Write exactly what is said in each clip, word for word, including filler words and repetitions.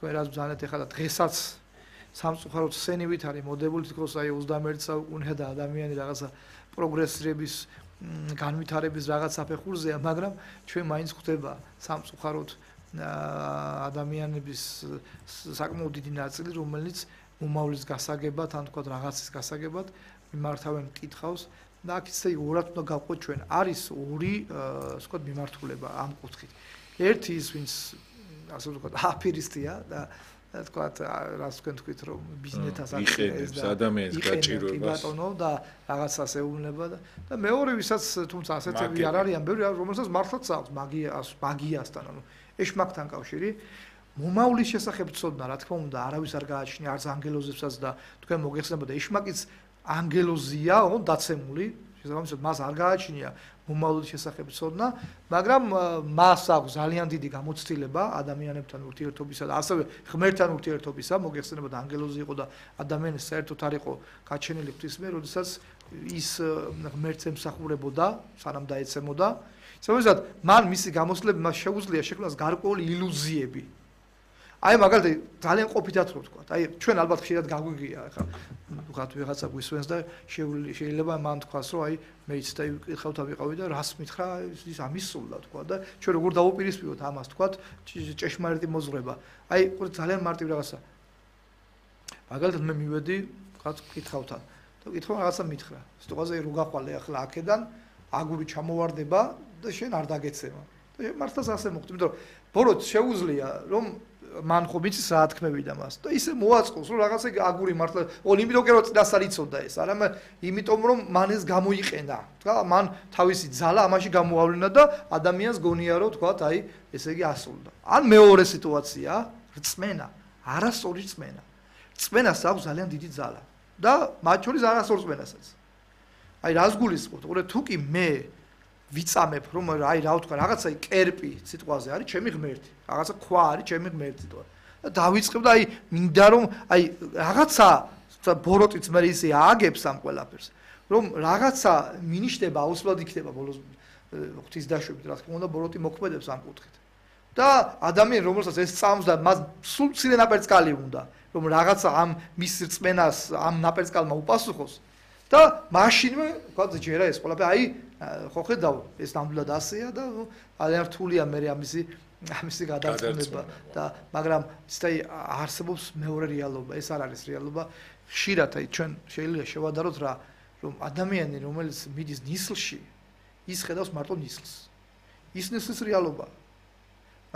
რაც ბრძანეთ ეხლა დღესაც სამწუხაროდ სცენივით არის მოდებული თქოს აი ოცდამეერთე საუკუნეა და ადამიანი რაღაცა პროგრესირების განვითარების რაღაც საფეხურზეა, მაგრამ ჩვენ მაინც ხვდება სამწუხაროდ ადამიანების საკმაოდ დიდი ნაწილი, რომელიც მომავლის გასაგებად, ან თქვა რაღაცის გასაგებად მიმართავენ კითხავს და აქ ისე ორად უნდა გავყოთ ჩვენ. არის ორი, ასე ვთქვათ, მიმართულება ამ კუთხით. ერთი ის, ვინც ასე ვთქვათ, აფერისტია და თქვათ, რას თქვენ თქვით, რომ ბიზნესას აყენებს ადამიანის გაჭირვებას. ბატონო და რაღაცას ეუბნება და მეორე, ვისაც თუმცა ასეთები არ არიან, ბევრი, რომელსაც მართლაც აქვს მაგიას, მაგიასთან, ანუ ეშმაკთან კავშირი. მომავლის შესახებ ცოდნა, რა თქმა უნდა, არავის არ გააჩნია, არც ანგელოზებსაც და თქვენ მოგეხსენებოდა, ეშმაკიც ანგელოზია, ოღონდ დაცემული, შესაბამისად მას არ გააჩნია მომავლის შესახებ ცოდნა, მაგრამ მას აქვს ძალიან დიდი გამოცდილება ადამიანებთან ურთიერთობისა და ასევე ღმერთთან ურთიერთობისა, მოგეხსენებოდა ანგელოზი იყო და ადამიანი საერთოდ არ იყო გაჩენილი ღვთისმიერ, როდესაც ის ღმერთს ემსახურებოდა, სანამ დაეცემოდა. შესაბამისად, მან მისი გამოცდილება მას შეუძლია შექმნას გარკვეული ილუზიები. აი მაგალითად ძალიან ყოფითად რო ვთქვა. აი ჩვენ ალბათ ხშირად გაგვიგია, ახლა ვთქვათ ვიღაცა გვისვენს და შეიძლება მან თქვას, რომ აი მეც და ვიკითხავთ ავიყავი და რას მითხრა, ის ამის სულდა თქვა და ჩვენ როგორ დავუპირისპიროთ ამას თქვათ, ჭეშმარიტი მოზღრება. აი ძალიან მარტივ რაღაცა. მაგალითად მე მივედი, ვთქვათ, ვკითხავთან და ვკითხავ რაღაცა მითხრა. სიტყვაზე რო გახვალე ახლა აქედან აგური ჩამოვარდება და შენ არ დაგეცემა. და მართლაც ასე მოხდა, იმიტომ რომ ბოროტ შეუძლია რომ მან ხო ვიცი რა თქმევიდა მას და ისე მოაწყოს რომ რაღაცა აგური მართლა ო იმიტომ კი რომ წინას არ იცოდა ეს არამე იმიტომ რომ მან ეს გამოიყენა თქვა მან თავისი ძალა ამაში გამოავლინა და ადამიანს გონია რომ თქვა აი ესე იგი ასრულდა ან მეორე სიტუაცია რწმენა არასწორი რწმენა რწმენას აქვს ძალიან დიდი ძალა და მათ შორის არასწორ რწმენასაც აი რას გულისხმობთ უყურე თუ კი მე ვიწამებ რომ აი რა ვთქვა რაღაცა კერპი სიტყვაზე არის ჩემი ღმერთი რაღაცა ქვა არის ჩემი ღმერთი თქო და დავიწყებ და აი მინდა რომ აი რაღაცა ბოროტიც მე ისე ააგებს ამ ყველაფერს რომ რაღაცა მინიშნება აუცილებლად იქნება ბოლოს ღვთის დაშვებით რა თქმა უნდა ბოროტი მოქმედებს ამ კუთხით და ადამიანი რომელსაც ეს წამს და მას სულ მცირე ნაპერწკალი უნდა რომ რაღაცა ამ მის რწმენას ამ ნაპერწკალმა უპასუხოს და მაშინვე თქვა ჯერა ეს ყველაფერი აი ხო ხედავ ეს ნამდვილად ასეა და ძალიან რთულია მე ამისი ამისი გადაწყვეტილება და მაგრამ ისე არსებობს მეორე რეალობა ეს არ არის რეალობა ხშირად აი ჩვენ შეიძლება შევადაროთ რა რომ ადამიანი რომელიც მიდის ნისლში ის ხედავს მარტო ნისლს ის ნისლის რეალობა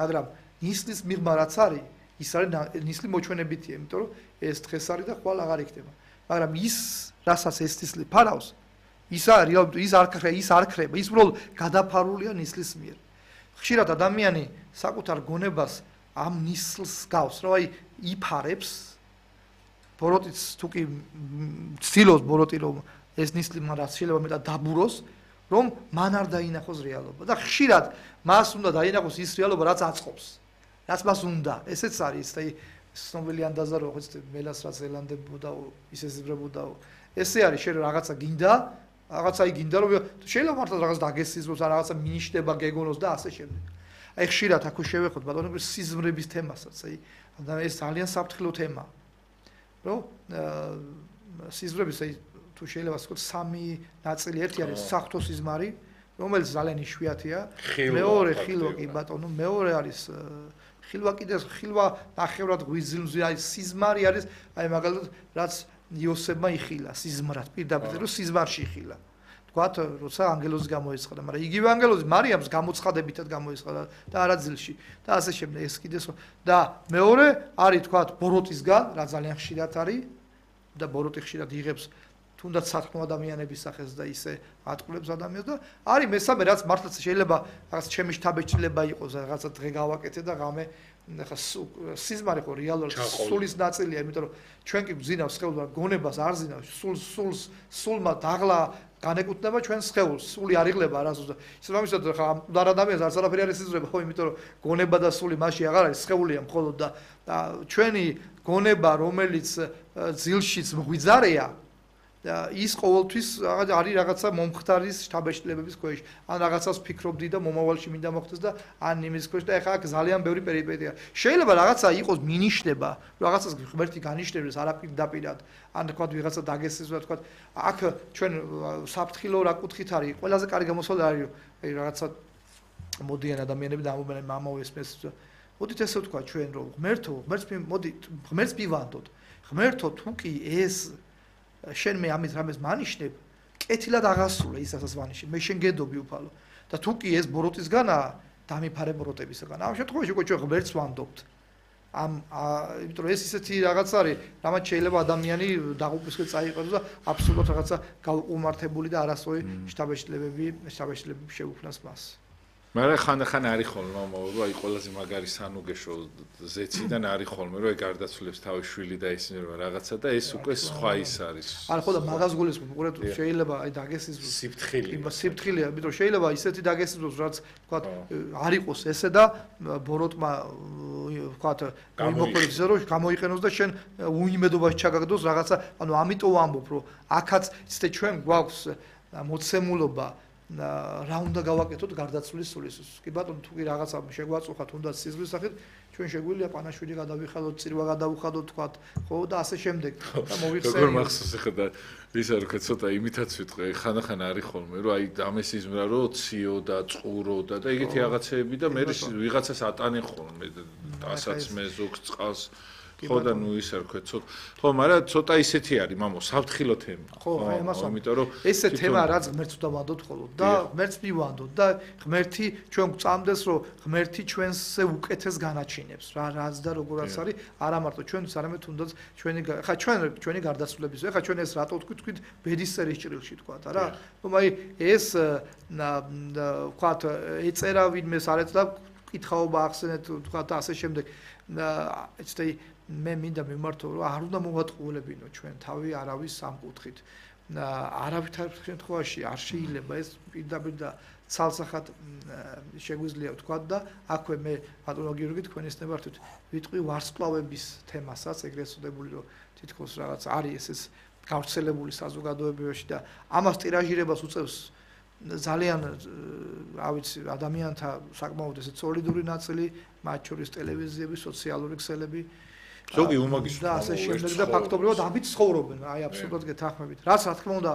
მაგრამ ნისლის მიღმა რაც არის ის არის ნისლი მოჩვენებითია იმიტომ რომ ეს დღეს არის და ხვალ აღარ იქნება მაგრამ ის რასაც ეს ნისლი ფარავს ის არის ის არ ქრება ის არ ქრება ის უბრალოდ გადაფარულია ნისლის მიერ ხშირად ადამიანი საკუთარ გონებას ამ ნისლს გავს რომ აი იფარებს ბოროტიც თუ კი ცდილობს ბოროტი რომ ეს ნისლი მან რაც შეიძლება მეტად დაბუროს რომ მან არ დაინახოს რეალობა და ხშირად მას უნდა დაინახოს ის რეალობა რაც აწყობს რაც მას უნდა ესეც არის აი ცნობილი ანდაზა რომ ხო მელას რაც ელანდებოდა ისე ზიბრებოდა ესე არის შენ რაღაცა გინდა რაღაცა იგინდა რომ შეიძლება მართლა რაღაც დაგესიზროს ან რაღაცა მინიშნება გეგონოს და ასე შემდეგ. აი ხშირად აქ შევეხოთ ბატონო სიზმრების თემასაც, აი ეს ძალიან საფრთხილო თემაა. რომ სიზმრების აი თუ შეიძლება ვთქვათ სამი ნაწილი ერთი არის საღვთო სიზმარი, რომელიც ძალიან იშვიათია. მეორე ხილვა კი ბატონო, მეორე არის ხილვა კიდე ხილვა ნახევრად გვიზილმზი არის სიზმარი არის აი მაგალითად რაც იოსებმა იხილა სიზმრად პირდაპირ რომ სიზმარში იხილა თქვათ როცა ანგელოზი გამოეცხადა მაგრამ იგივე ანგელოზი მარიამს გამოცხადებითად გამოეცხადა და არაძილში და ასე შემდეგ ეს კიდეს და მეორე არის თქვათ ბოროტისგან რა ძალიან ხშირად არის და ბოროტი ხშირად იღებს თუნდაც საქმო ადამიანების სახეს და ისე ატყულებს ადამიანს და არის მესამე რაც მართლაც შეიძლება რაღაც ჩემი შთაბეჭდილება იყოს რაღაცა დღე გავაკეთე და ღამე ახლა სიზმარი ხო რეალურად სულის ნაწილია, იმიტომ რომ ჩვენ კი გძინავს სხეულს, გონებას არ ზინავს, სულს სულს სულმა დაღლა განეკუთვნება ჩვენს სხეულს, სული არ იღლება არასოდეს. ისე რომ ისე ხა მკვდარ ადამიანს არც არაფერი არ ისიზრება, ხო, იმიტომ რომ გონება და სული მასში აღარ არის, სხეულია მხოლოდ და ჩვენი გონება, რომელიც ძილშიც მღვიძარეა, ის ყოველთვის არის რაღაცა მომხდარის შთაბეჭდილებების ქვეშ. ან რაღაცას ფიქრობდი და მომავალში მინდა მოხდეს და ან იმის ქვეშ და ეხლა აქ ძალიან ბევრი პერიპეტია. შეიძლება რაღაცა იყოს მინიშნება, რაღაცას ღმერთი განიშნებს არაპირდაპირად, ან თქვა ვიღაცა დაგესწროს და თქვა აქ ჩვენ საფრთხილო რა კუთხით არის, ყველაზე კარგი გამოსვლა არის, აი რაღაცა მოდიან ადამიანები და ამობენ მამაო ესმეს. მოდით ესე ვთქვა ჩვენ რომ ღმერთო, ღმერთს მოდი ღმერთს მივანდოთ. ღმერთო თუ კი ეს შენ მე ამის რამეს მანიშნებ, კეთილად აღასრულე ის რასაც ვანიშნებ. მე შენ გედობი უფალო. და თუ კი ეს ბოროტისგანაა, დამიფარე ბოროტებისგან. ამ შემთხვევაში უკვე ჩვენ ღმერთს ვამბობთ. ამ იმიტომ რომ ეს ისეთი რაღაც არის, რამაც შეიძლება ადამიანი დაღუპვისკენ წაიყვანოს და აბსოლუტურად რაღაცა გაუყუმართებული და არასწორი შთაბეჭდილებები, შთაბეჭდილებები შეუქმნას მას. მაგრამ ხანდახან არის ხოლმე მამაო, რომ აი ყველაზე მაგარი სანუგეშო ზეციდან არის ხოლმე, რომ ეგ გარდაცვლებს თავის შვილი და ისინი რომ რაღაცა და ეს უკვე სხვა ის არის. არა ხო და მაგას გულისხმობ, უყურეთ შეიძლება აი დაგესიზროს სიფრთხილე. სიფრთხილეა, იმიტომ რომ შეიძლება ისეთი დაგესიზროს, რაც თქვა არ იყოს ესე და ბოროტმა თქვა მოიმოქმედოს რომ გამოიყენოს და შენ უიმედობაში ჩაგაგდოს რაღაცა, ანუ ამიტომ ვამბობ, რომ აქაც ისე ჩვენ გვაქვს მოცემულობა რა უნდა გავაკეთოთ გარდაცვლის სულისს. კი ბატონო, თუ კი რაღაცა შეგვაწუხათ, უნდა სიზღვის სახით, ჩვენ შეგვიძლია პანაშვილი გადავიხადოთ, წირვა გადავუხადოთ, თქვა, ხო და ასე შემდეგ. და მოვიხსენე. როგორ მახსოვს ახლა და ის არ ვქეთ, ცოტა იმითაც ვიტყვი, ხანდახან არის ხოლმე, რომ აი დამესიზმრა, რომ ციო და წყურო და და ეგეთი რაღაცეები და მე ვიღაცას ატანენ ხოლმე დასაც მე ზოგს წყალს ხო და ნუ ის არ ვქეთ, ცოტა. ხო, მაგრამ ცოტა ისეთი არის, მამო, საფრთხილო თემა. ხო, აი ამას ვამბობ. იმიტომ რომ ესე თემა რაც ღმერთს დავანდოთ ხოლმე და ღმერთს მივანდოთ და ღმერთი ჩვენ გვწამდეს, რომ ღმერთი ჩვენზე უკეთეს განაჩინებს, რა რაც და როგორაც არის, არა მარტო ჩვენს, არამედ თუნდაც ჩვენი ხა ჩვენ ჩვენი გარდაცვლების. ეხლა ჩვენ ეს რატო თქვით, თქვით ბედის წერის ჭრილში თქვათ, არა? რომ აი ეს თქვათ ეწერა ვინმეს არ ეწდა კითხაობა ახსენეთ, თქვათ და ასე შემდეგ. ეცდები მე მინდა მიმართო რომ არ უნდა მოვატყულებინო ჩვენ თავი არავის სამკუთხით. არავითარ შემთხვევაში არ შეიძლება ეს პირდაპირ და ცალსახად შეგვიძლია ვთქვა და აქვე მე ბატონო გიორგი თქვენის ნებართვით ვიტყვი ვარსკვლავების თემასაც, ეგრეთ წოდებული რომ თითქოს რაღაც არის ეს გავრცელებული საზოგადოებაში და ამას ტირაჟირებას უწევს ძალიან რა ვიცი ადამიანთა საკმაოდ ესე სოლიდური ნაწილი, მათ შორის ტელევიზიები, სოციალური ქსელები ზოგი უმაგის და ასე შემდეგ და ფაქტობრივად ამით ცხოვრობენ, აი აბსოლუტურად გეთანხმებით. რაც რა თქმა უნდა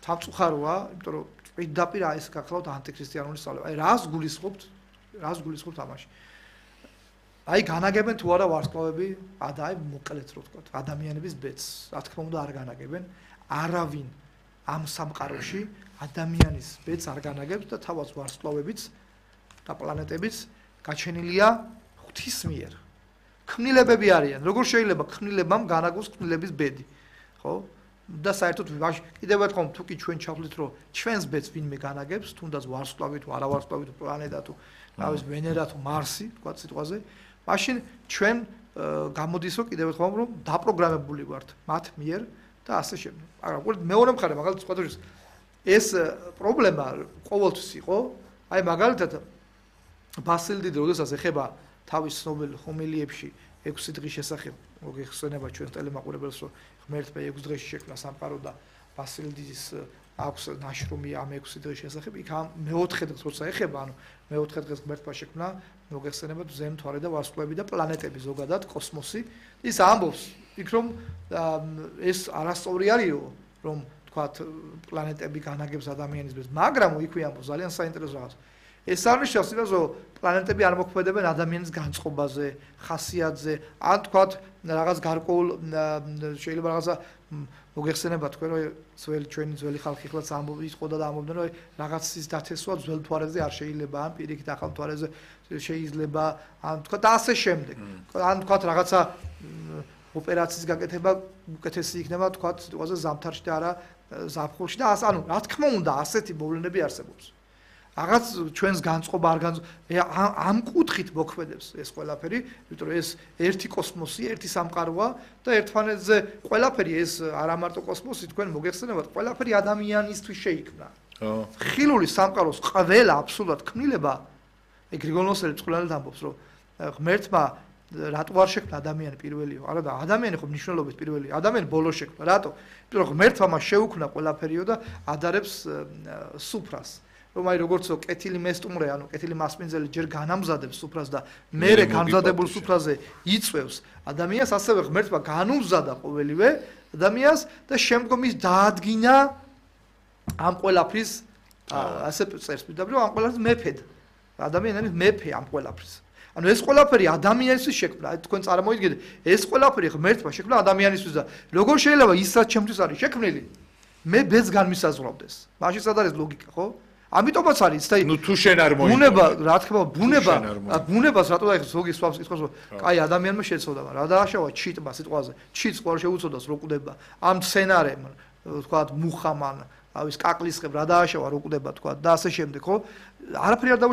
სამწუხაროა, იმიტომ რომ პირდაპირ ეს გახლავთ ანტიქრისტიანული სწავლება. აი რას გულისხმობთ? რას გულისხმობთ ამაში? აი განაგებენ თუ არა ვარსკვლავები, და აი მოკლედ რო ვთქვათ, ადამიანების ბედს, რა თქმა უნდა არ განაგებენ. არავინ ამ სამყაროში ადამიანის ბედს არ განაგებს და თავად ვარსკვლავებიც და პლანეტებიც გაჩენილია ღვთის მიერ. ქმნილებები არიან. როგორ შეიძლება ქმნილებამ განაგოს ქმნილების ბედი, ხო? და საერთოდ კიდევ ერთხელ თუ კი ჩვენ ჩავთვლით, რომ ჩვენს ბედს ვინმე განაგებს, თუნდაც ვარსკვლავი თუ არა ვარსკვლავი თუ პლანეტა თუ თავის ვენერა თუ მარსი, თქვა სიტყვაზე, მაშინ ჩვენ გამოდის რომ კიდევ ერთხელ რომ დაპროგრამებული ვართ მათ მიერ და ასე შემდეგ. მაგრამ უბრალოდ მეორე მხარე, მაგალითად სხვადასხვა ეს პრობლემა ყოველთვის იყო, აი მაგალითად ბასილ დიდი როდესაც ეხება თავის ცნობილ ჰომილიებში ექვსი დღის შესახებ, მოგეხსენება ჩვენს ტელემაყურებელს, რომ ღმერთმა ექვსი დღეში შექმნა სამყარო და ბასილ დიდის აქვს ნაშრომი ამ ექვსი დღის შესახებ, იქ ამ მეოთხე დღეს როცა ეხება, ანუ მეოთხე დღეს ღმერთმა შექმნა, მოგეხსენებათ ზემთვარე და ვარსკვლავები და პლანეტები ზოგადად, კოსმოსი. ის ამბობს, იქ რომ ეს არასწორი არისო, რომ თქვათ პლანეტები განაგებს ადამიანის ბედს, მაგრამ იქვე ამბობს ძალიან საინტერესო რაღაც. ეს არნიშნავს იმას, რომ პლანეტები არ მოქმედებენ ადამიანის განწყობაზე, ხასიათზე, ან თქვათ რაღაც გარკვეულ შეიძლება რაღაცა მოგეხსენება თქვენ, რომ ძველი ჩვენი ძველი ხალხი ხლაც ამბობს, იყო და ამბობდნენ, რომ რაღაცის დათესვა ძველ მთვარეზე არ შეიძლება, ან პირიქით ახალ მთვარეზე შეიძლება, ან თქვათ ასე შემდეგ. ან თქვათ რაღაცა ოპერაციის გაკეთება უკეთესი იქნება, თქვათ სიტყვაზე ზამთარში და არა ზაფხულში და ასე, ანუ რა თქმა უნდა, ასეთი მოვლენები არსებობს. რაღაც ჩვენს განწყობა არ განწყობა ამ კუთხით მოქმედებს ეს ყველაფერი, იმიტომ რომ ეს ერთი კოსმოსი, ერთი სამყაროა და ერთმანეთზე ყველაფერი ეს არა მარტო კოსმოსი, თქვენ მოგეხსენებათ, ყველაფერი ადამიანისთვის შეიქმნა. ხილული სამყაროს ყველა აბსოლუტურად ქმნილება, ეგ გრიგოლ ნოსელი წყლიანად ამბობს, რომ ღმერთმა რატო არ შექმნა ადამიანი პირველიო? არა და ადამიანი ხო მნიშვნელობით პირველია. ადამიანი ბოლოს შექმნა. რატო? იმიტომ რომ ღმერთმა მას შეუქმნა ყველაფერიო და ადარებს სუფრას. რომ აი როგორცო კეთილი მესტუმრე, ანუ კეთილი მასპინძელი ჯერ განამზადებს სუფრას და მერე გამზადებულ სუფრაზე იწვევს ადამიანს, ასევე ღმერთმა განუმზადა ყოველივე ადამიანს და შემდგომ ის დაადგინა ამ ყველაფრის ასე წერს პირდაპირ ამ ყველაფრის მეფედ. ადამიანი არის მეფე ამ ყველაფრის. ანუ ეს ყველაფერი ადამიანისთვის შექმნა. თქვენ წარმოიდგინეთ, ეს ყველაფერი ღმერთმა შექმნა ადამიანისთვის და როგორ შეიძლება ის რაც ჩემთვის არის შექმნილი, მე ბედს განმისაზღვრავდეს. მაშინ სად არის ლოგიკა, ხო? ამიტომაც არის და ნუ თუ შენ არ მოიწონე. ბუნება, რა თქმა უნდა, ბუნება, ბუნებას რატო დაიხსნა ზოგი სხვას იტყვას, კაი ადამიანმა შეცოდა, მაგრამ რა დააშავა ჩიტმა სიტყვაზე. ჩიტს ყოველ შეუწოდოს რო კვდება. ამ სცენარემ, თქვა მუხამან, ავის კაკლისხებ რა დააშავა რო კვდება, თქვა და ასე შემდეგ, ხო? არაფერი არ